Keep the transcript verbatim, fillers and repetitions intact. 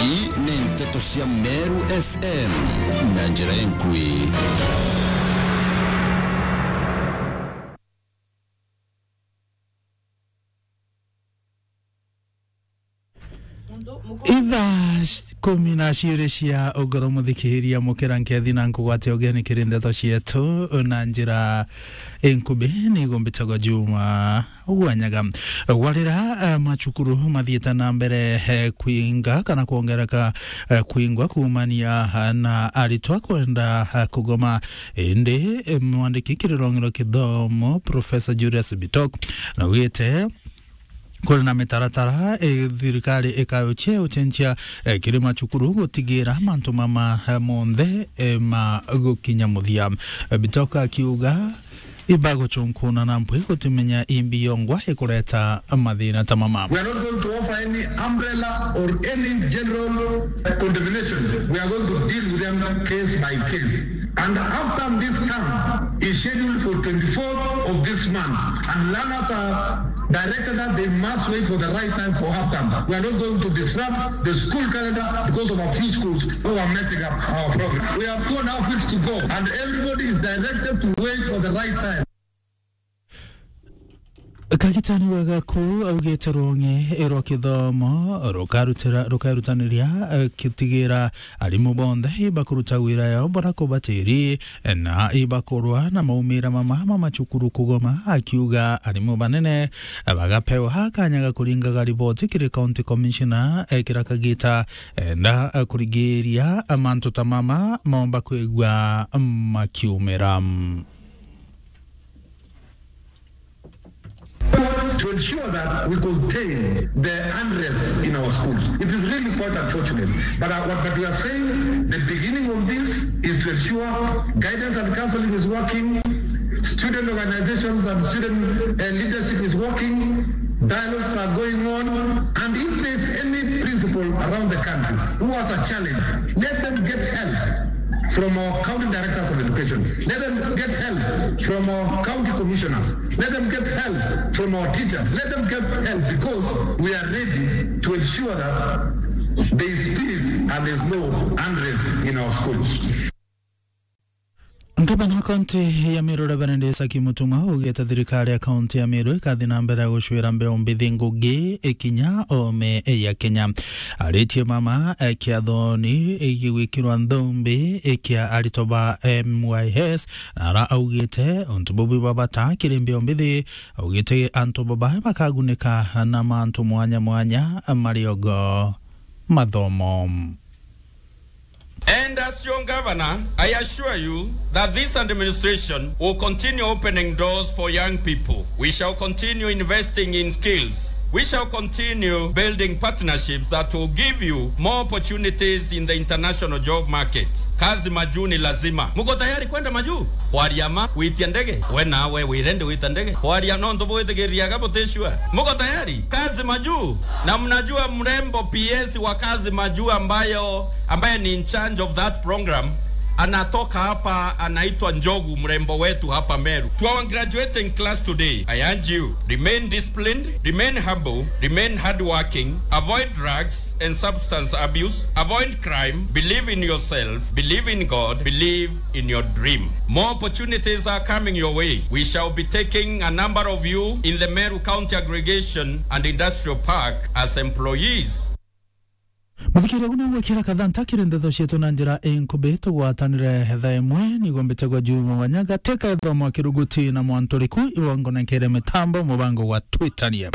Ii ni nteto cia Meru F M na njira inkui. Ithaa sh-, kumi na ciiri cia ugoro, muthikiria, mukira nkethi na nkugwate ugeni kiri ndeto cietu na njira inkubi. Nigo mbitagwa Juma Gwanyaga. Warira, eh, macukuru mathiite na mbere, eh, kwinga kana kwongereka, eh, kwingwa kuumania, eh, na aritwa kwenda, eh, kugoma. Indi, eh, mwandiki kiri rwonge rwa kithomo, Professor Julius Bitok, naugite kuri na mitaratara, eh, thirikari ikauchia ucenjia, eh, kiri macukuru gutigira mantu mama, eh, monthe, eh, ma gukinya muthia. Eh, Bitok akiuga, ibaguchunkuna na mpwi gutimenya imbi yongwa ikureta mathina ta mama. We are not going to offer any umbrella or any general condemnation. We are going to deal with them case by case. And after this term is scheduled for twenty-fourth of this month, and learners are directed that they must wait for the right time for half term. We are not going to disrupt the school calendar because of a few schools who are messing up our program. We have two and a half weeks to go, and everybody is directed to wait for the right time. Kagitani wa Gaku augite rwonge rwa kithomo rukarutira-, rukarutaniria, eh, kitigira arimu bonthe ibakuruta wira yao bora kubatiri, eh, na ibakurwa na maumira mama ma macukuru kugoma, akiuga arimu banene, eh, bagapewa kanya ga kuringaga riboti kiri County Commissioner, eh, kira kagita, eh, nda, eh, kurigiria, eh, mantu ta mama momba kwigua makiumira. To ensure that we contain the unrest in our schools. It is really quite unfortunate. But, uh, what, but we are saying the beginning of this is to ensure guidance and counseling is working, student organizations and student, uh, leadership is working, dialogues are going on, and if there's any principal around the country who has a challenge, let them get help from our county directors of education. Let them get help from our county commissioners. Let them get help from our teachers. Let them get help because we are ready to ensure that there is peace and there is no unrest in our schools. Ngavana wa kaunti ya Meru, Reverend Isaac Mutuma, augite thirikari ya kaunti ya Meru ikathi na mbere ya gucwira mbeu mbithi ngugi ikinya ome ya Kenya. Aritie mama, eh, kiathoni gigwikirwa nthumbi, eh, kia aritwa ba M Y S, na ara augite untu bubu bwa bata kiri mbeu mbithi, augite antu baba bakagunika na mantu mwanya mwanya mariogo mathomo. And as your governor, I assure you that this administration will continue opening doors for young people. We shall continue investing in skills. We shall continue building partnerships that will give you more opportunities in the international job market. Kazi majuu ni lazima. Muko tayari kwenda majuu? Kwaria ma, gwitia ndege? We nawe wirende gwita ndege? Kwaria nontu bwithigiriaga buticua. Muko tayari? Kazi majuu. Na mnajua mrembo P S wa kazi majuu ambayo, ambaye ni in charge of that program, anatoka hapa, anaitwa Njogu, mrembo wetu hapa Meru. To our graduating class today, I urge you, remain disciplined, remain humble, remain hardworking, avoid drugs and substance abuse, avoid crime, believe in yourself, believe in God, believe in your dream. More opportunities are coming your way. We shall be taking a number of you in the Meru County Aggregation and Industrial Park as employees. Muthikiria, ugu nigwikira kathanta kiri ndeto cietu na njira inkubi. Tugwatanire thaa imwe, nigwo mbitegwa Juma Wanyaga, teka ithomo kiruguti na Mwanturiku, iwongonekere mitambo mubango gwa Twitanie.